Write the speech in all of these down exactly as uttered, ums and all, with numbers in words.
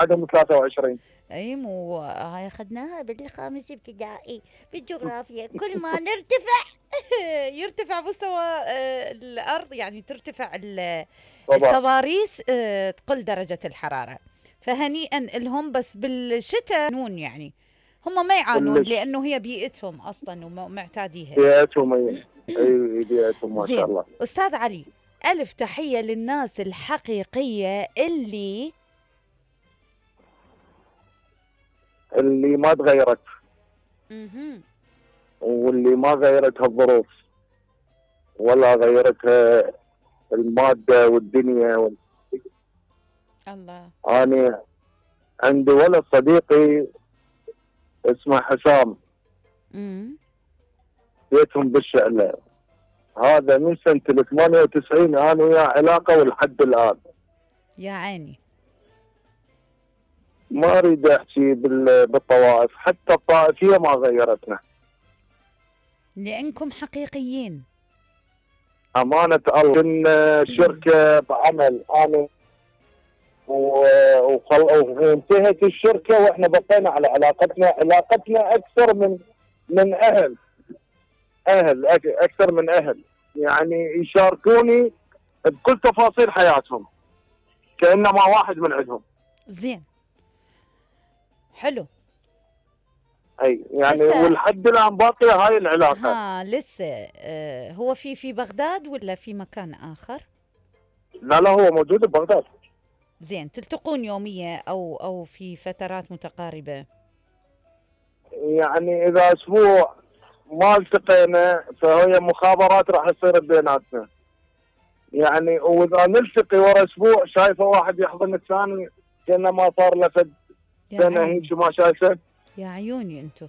عندهم ثلاثة وعشرين. اي مو هاي اخذناها بالخامس ابتدائي بالجغرافيا، كل ما نرتفع يرتفع مستوى آه، الارض، يعني ترتفع ال- طبعا. التضاريس، آه، تقل درجة الحرارة. فهنيئا لهم، بس بالشتاء نون يعني هم ما يعانون كلش لانه هي بيئتهم اصلا ومعتاديها. بيئتهم، اي اي بيئتهم ما شاء زين الله. استاذ علي، الف تحية للناس الحقيقية اللي اللي ما تغيرت مهم. واللي ما غيرتها الظروف ولا غيرتها المادة والدنيا وال... الله. أنا عندي ولد صديقي اسمه حسام، امم بيتهم بالشعلة، هذا من سنة ثمانية وتسعين أنا وياه علاقة ولحد الآن. يا عيني. ما أريد أحكي بال- بالطوائف، حتى الطائفية ما غيرتنا. لأنكم حقيقيين. أمانة الله كنا شركة بعمل أنا و- وخل... وانتهت الشركة وإحنا بقينا على علاقتنا، علاقتنا أكثر من من أهل أهل أك- أكثر من أهل، يعني يشاركوني بكل تفاصيل حياتهم كأنما واحد من عندهم. زين، حلو. أي يعني هسه ولحد الآن باقية هاي العلاقة. ها لسه آه هو في في بغداد ولا في مكان آخر؟ لا لا، هو موجود ببغداد. زين، تلتقون يوميا أو أو في فترات متقاربة؟ يعني إذا أسبوع ما التقينا فهي مخابرات راح تصير بيناتنا، يعني واذا نلتقي ورا اسبوع شايفه واحد يحضن الثاني كانه ما صار له فد يا سنه عيني، هيك ما شايفه. يا عيوني انتو.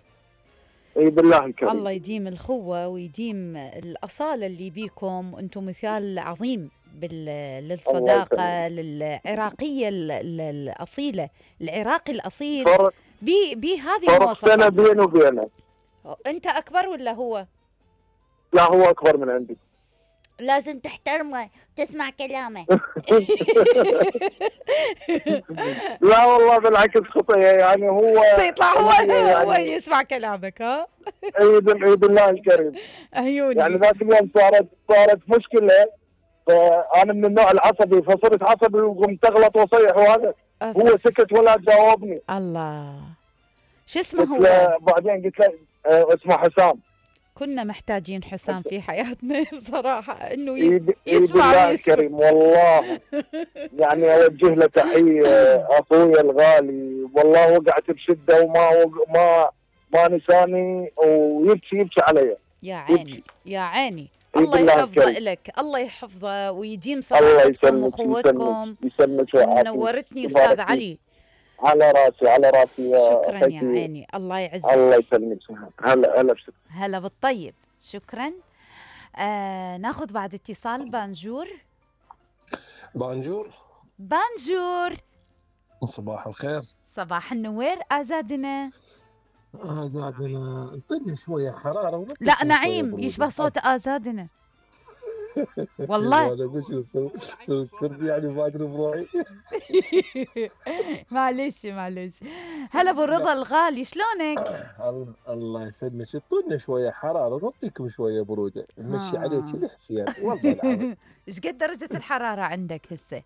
اي بالله الكريم. الله يديم الخوة ويديم الأصالة اللي بيكم، انتم مثال عظيم بال... الله للصداقة، يسلمك. للعراقية ال- ال- الأصيلة، العراقي الأصيل فرق بي بهذه فرق سنه المواصفات. بيني وبينه. انت أكبر ولا هو؟ لا هو اكبر من عندي. لازم تحترمه تسمع كلامه. لا والله بالعكس خطيه، يعني هو سيطلع هو هي هو يعني يسمع كلامك. ها اي بال- إي بالله الكريم. يعني عيوني. ذاك اليوم صارت صارت مشكله، فانا من النوع العصبي فصرت عصبي وقمت اغلط واصيح وهذا، أف هو أف. سكت ولا جاوبني. الله، شو اسمه قلت هو؟ له بعدين قلت له آه، اسمه حسام. كنا محتاجين حسام في حياتنا بصراحة، انه ي- ايد ايد يسمع الله ويسكت. الكريم والله. يعني اوجه له تحيه اخويا الغالي، والله وقعت بشده وما وق... ما ما نساني ويبكي يبكي علي. يا يبكي. عيني يا عيني. ايد الله الله يحفظه الكريم. لك، الله يحفظه ويديم الله صداقتكم يسلمك يسلمك واخوتكم. يسلمك ويعافيك. نورتني استاذ تبارك فيك. علي. على راسي على راسي يا شكرا يا اخوتي. عيني، الله الله يعزك. يسلمك. هلا هلا بشكل. هلا بالطيب، شكرا. آه ناخذ بعد اتصال. بانجور. بانجور. بانجور، صباح الخير. صباح النوير ازادنا. آه زادنا انطيني شوية حرارة ونطيكم لا شوية نعيم برودة. يشبه صوت ازادنا والله. انا اقول شنو صرت كردي يعني ما ادري بروحي. معلش معلش. هلا ابو رضا الغالي، شلونك؟ الله الله يسلمك، اعطونا شوية حرارة ونعطيكم شوية برودة، نمشي عليك الحسين والله العظيم. ايش قد درجة الحرارة عندك هسه؟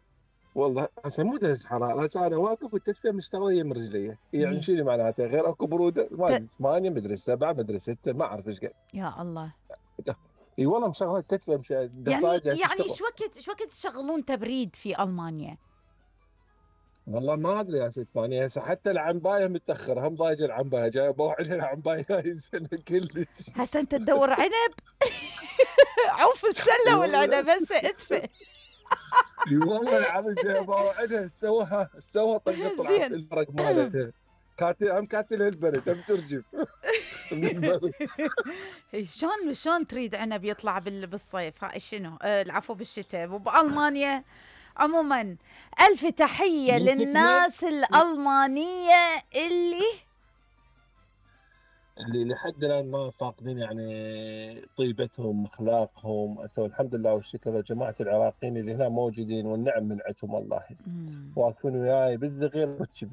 والله هسه مو درجة حرارة، هسه انا واقف والتدفئة مشتغلة يم رجلي، يعني شنو معناته غير اكو برودة؟ ما ادري ثمانية مدري سبعة مدري ستة ما اعرف ايش قد. يا الله. اي والله مشغله التدفئة مش يعني دفاجة يعني شو وقت شو وقت تشغلون تبريد في المانيا؟ والله ما ادري يا ست ماني، هسه حتى العنبايه متاخر، هم ضايجه العنبايه جايه بوعد العنبايه هاي السنه كلش. هسه انت تدور عنب. عوف السله والعنب هسه ادفئ. اي والله العظيم جايه بوعدها، سوها سوها طقت طلعت الورق مالتها، كاتل هم كاتل البلد هم ترجف. شلون شلون تريد عنب يطلع بالصيف؟ هاي شنو؟ آه العفو بالشتاء وبالمانيا. عموما الف تحيه للناس الالمانيه اللي اللي لحد الان ما فاقدين يعني طيبتهم اخلاقهم. الحمد لله والشكر لجماعه العراقيين اللي هنا موجودين، والنعم من عندهم والله، واقفين وياي بالصغير والكبير.